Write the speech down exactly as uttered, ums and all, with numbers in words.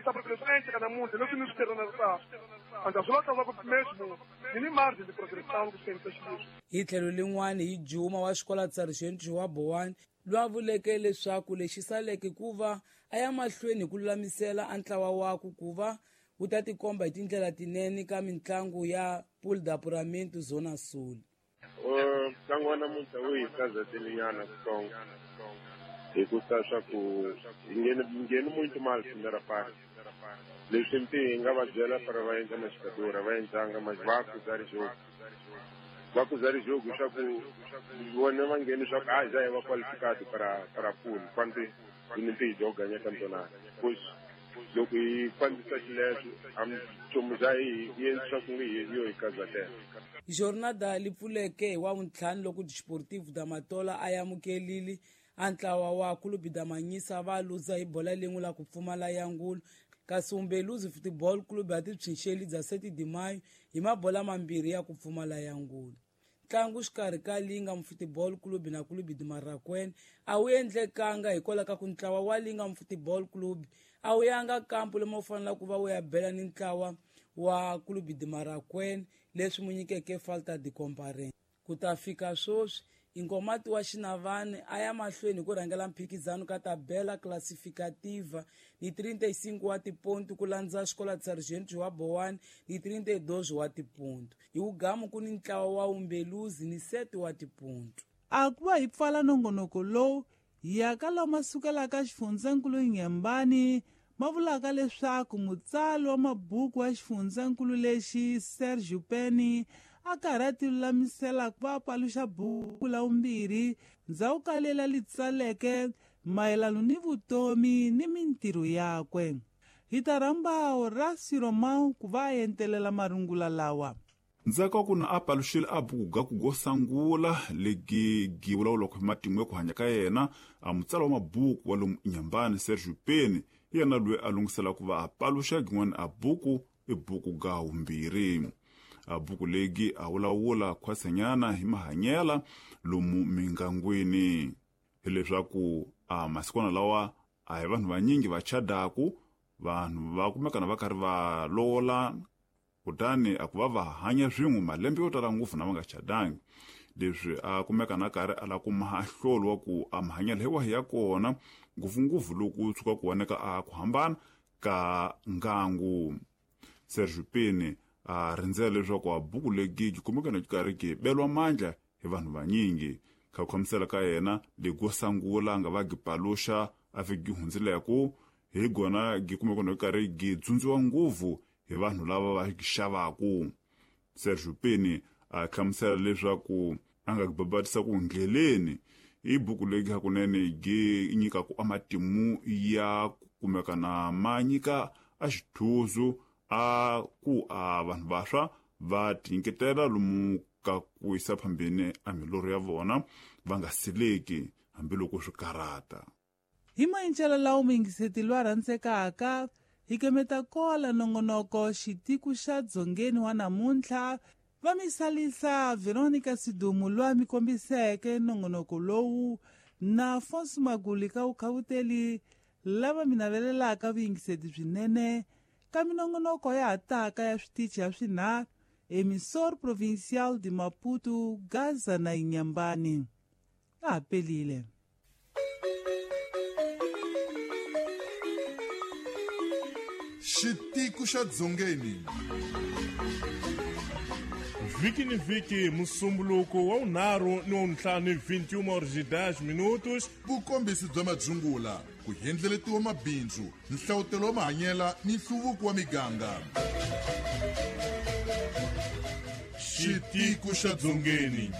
Kombisa porque leswi endleka namuntlha leswi ni swi tirhanaka anda swi lava ku mesmo ni ni margem de progressão ku swi xileswi. Hi tlhelo lin'wana hi Juma wa xikola Sargent wa Bowani lwa vuleke leswaku lexi saleke ku va a ya mahlweni hi ku lulamisela a ntlawa waku ku va wu ta tikomba hi tindlela tinene ka mitlangu ya Pool de Apuramento Zona Sul. Ntlangu wa namuntlha wu hi kazatelinyana kutsongo hikusa swa ku hi ngheni ngheni muito mal primeira parte. Leswi mpi hi nga va byela para va endla maxikadura va endlanga mas va acusar jogo. Va acusar jogo swa ku vona va ngheni swa ku ah já é va qualificado para para pool quando hi mpi hi joga ganha campeonato. Pois loko hi fambisa xileswo a nchumu xa hi hi endla swa ku nge hi yo hi kazatela. Jornada li pfuleke hi wa vuntlhanu loko Desportivo da Matola a amukelile a ntlawa wa Clube da Manhissa va luza hi bola lin'we la ku pfumala ya ngulu kasi Umbeluzi Football Club ya tipsinxeli bya sete de Maio hi mabola mambirhi ya ku pfumala ya ngulu. Ntlangu xikarhi ka Lingam Football Club na Clube de Marraquene a wu endlekanga hikwalaho ka ku ntlawa wa Lingam Football Club a wu yanga kampu lomu wu faneleke ku va wu ya bela ni ntlawa wa Clube de Marraquene leswi mu nyikeke falta de comparence. Ku ta fika sweswi Inkomati wa Xinavane a ya mahlweni hi ku rhangela mphikizano ka tabela classificativa ni trinta e cinco wa tiponto ku landza xikola Sargent wa Bowani ni trinta e dois wa tiponto. Hi wugamu ku ni ntlawa wa Umbeluzi ni sete wa tiponto. A ku va hi pfala nongonoko lowu hi ya ka lama sukelaka xifundzankulu Inhambane ma vulaka leswaku mutsari wa mabuku wa xifundzankulu lexi Sergio Penny a karhi a ti lulamisela ku va paluxa buku la vumbirhi ndzhaku ka lela li tsaleke mayelano ni vutomi ni mintirho yakwe. Hi ta rhamba Horacio Romão ku va a entelela marungula lawa. Ndzhaku ka ku na a paluxile a buku ga ku go sangula legi gi vulavulaka hi matimu ya ku hanya ka yena a mutsari wa mabuku wa lomu Inhambane Sergio Penny hi yena loyi a lunghisela ku va a paluxa gin'wana a buku i buku ga vumbirhi. A buku legi a vulavula khwasenyana hi mahanyela lomu mingangwini hileswaku a masikwana lawa a hi vanhu vanyingi va chadaku vanhu va kumekana va karhi va lovola kutani a ku va va hanya swin'we malembe yo tala ngopfu na va nga chadangi. Leswi a kumeka na karhi a la kuma ahlolo wa ku a mahanyelo hi wahi ya kona ngopfungopfu loko tshuka ku voneka a ku hambana ka ngangu. Sergio Penny a rindzela leswaku a buku legi yi kumeka na karhi ki belwa mandla hi vanhu vanyingi. Kha ku khamisela ka yena lego sangula nga va gi paluxa a fiki hundzileku hi gona gi kumeka na karhi gi dzundziwa ngopfu hi vanhu lava va xavaku. Sergio Penny a hlamusela leswaku a nga babatisa ku ndleleni i buku leyi hakunene gi nyika ku amatimu ya kumeka na ma nyika a xithuzu a ku a vanhu vaswa va tinyiketela lomu ka ku yisa phambeni a milorho ya vona va nga sileki hambiloko swi karata. Hi maendlelo lawa muyingiseti loyi a rhandzekaka hi kemeta kola nongonoko xitiku xa dzongeni wa namuntlha va misalisa Veronica Sidumu loyi a mi kombiseke nongonoko lowu na Afonso Maguli ka vukhawuteli lava mi navelelaka vuyingiseti byinene ka minongonoko ya ha taka ya switichi ya swinharhu Emissor Provincial de Maputo, Gaza na Inhambane. A ha pelile. Xitiku xa dzongeni. Vhiki ni vhiki musumbuluko wa vunharhu ni wa vuntlhanu vinte e uma horas e dez minutos. Vukombisi bya madzungula, ku hendleletiwa mabindzu, nhlawutelo wa mahanyela ni nhluvuko wa miganga. Xitiku xa dzongeni.